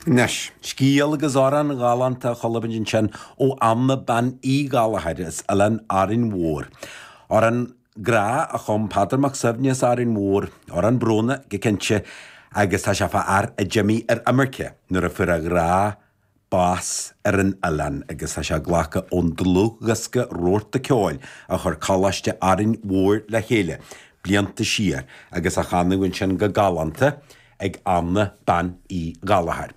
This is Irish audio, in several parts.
Anois, scéal agus amhrán galánta a chuala muid ansin ó Anna Bean Uí Ghallchóir as Oileán Árainn Mhór. Amhrán grá a chum Peadar Mac Suibhne as Árainn Mhór, amhrán brónach go cinnte, agus tá sé fá fhear a d'imigh ar imirce nuair a fuair a ghrá bás ar an oileán agus tá sé glactha ón dlúthdhiosca Rabharta Ceoil a chuir Coláiste Árainn Mhór le chéile blianta siar agus a chanadh ansin go galánta ag Anna Bean Uí Ghallchóir.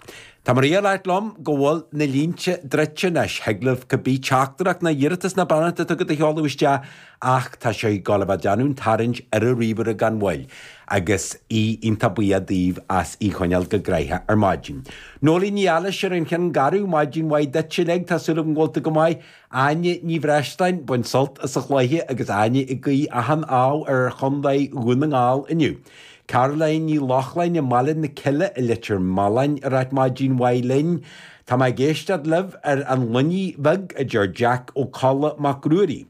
Tá Maria ag ráit liom go bhfuil na línte druidte anois. Thig libh cibé teachtaireacht ná iarratas ná beannacht atá agat a sheoladh isteach ach tá sé ag gabháil a bheith ag déanamh an tarraingt ar an ríomhaire gan mhoill agus í iontach buíoch daoibh as í choinneáil go gnoitheach ar maidin. Nóirín Ní Fhailís ar an Chionn Garbh, maidin mhaith duit uilig, tá súil agam go bhfuil tú go maith. Áine Ní Bhreisleáin, bain sult as an chluiche agus Áine ag guí achan ádh ar Chontae Dhún na nGall inniu. Caroline Ní Lochlainn i mBaile na Cille i Leitir Mealláin ag ráit maidin mhaith linn. Tá mé ag éisteacht libh ar an Luinnigh Bheag, a deir Jack Ó Colla Mac Ruairí.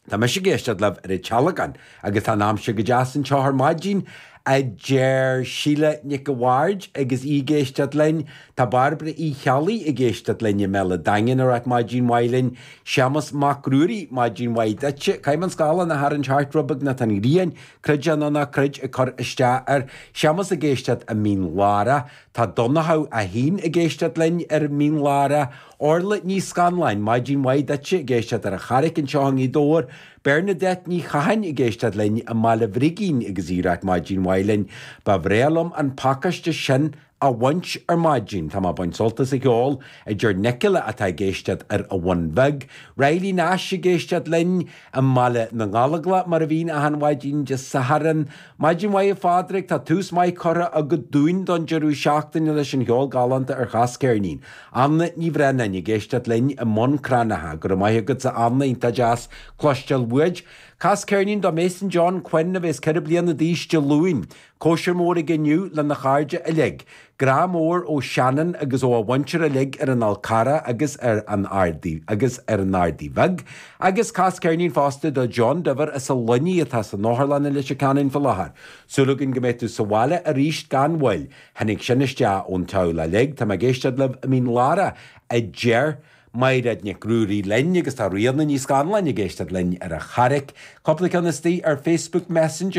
Tá mise ag éisteacht libh ar an Tealgán agus tá an aimsir go deas anseo ar maidin, a deir Síle Nic a' Bhaird agus í ag éisteacht linn. Tá Bairbre Uí Cheallaigh ag éisteacht linn i mBéal a' Daingin ag ráit maidin mhaith linn. Séamus Mac Ruairí, maidin mhaith duitse. Caithfidh mé an scáileán a tharraingt thart rud beag nó tá an ghrian, creid é nó ná creid, ag cur isteach air. Séamus ag éisteacht i Mín Lárach. Tá Donnchadh é féin ag éisteacht linn ar Mín Lárach. Orla Ní Scanláin, maidin mhaith duitse, ag éisteacht ar an Charraic anseo i nGaoth Dobhair. Bernadette Ní Chatháin ag éisteacht linn i mBaile Bhrigín agus í ag ráit maidin mhaith linn. Ba bhréa liom an pacáiste sin a bhaint ar maidin. Tá mé ag baint sult as an cheol, a deir Nicola atá ag éisteacht ar an Bhun Bheag. Riley Nash ag éisteacht linn i mBaile na nGallóglach mar a bhíonn achan mhaidin Dé Sathairn. Maidin mhaith a Phádraig, tá tús maith curtha agat dúinn don deireadh seachtaine leis an cheol galánta ar Chas Ceirnín. Anna Ní Bhreanáin ag éisteacht linn i mBun Cranncha. Go raibh maith agatsa Anna, iontach deas cloisteáil uait. Cas ceirnín do Mason John Quinn a bheas 4 bliana d'aois Dé Luain. Cóisir mór aige inniu lena chairde uilig. Grá mór ó Shannon agus ó a mhuintir uilig ar an Fhál Carrach agus ar an Ardaidh agus ar an Ardaidh Bheag. Agus cas ceirnín fosta do John Diver as an Luinnigh atá san otharlann i Leitir Ceanainn faoi láthair. Súil againn go mbeidh tú sa bhaile arís gan mhoill. Tháinig sin isteach ón teaghlach uilig. Tá mé ag éisteacht libh i Mín Lárach, a deir Mairéad Nic Ruairí linn agus tá Ríona Ní Scanláin ag éisteacht linn ar an Charraic. Cúpla ceann istigh ar Facebook Messenger.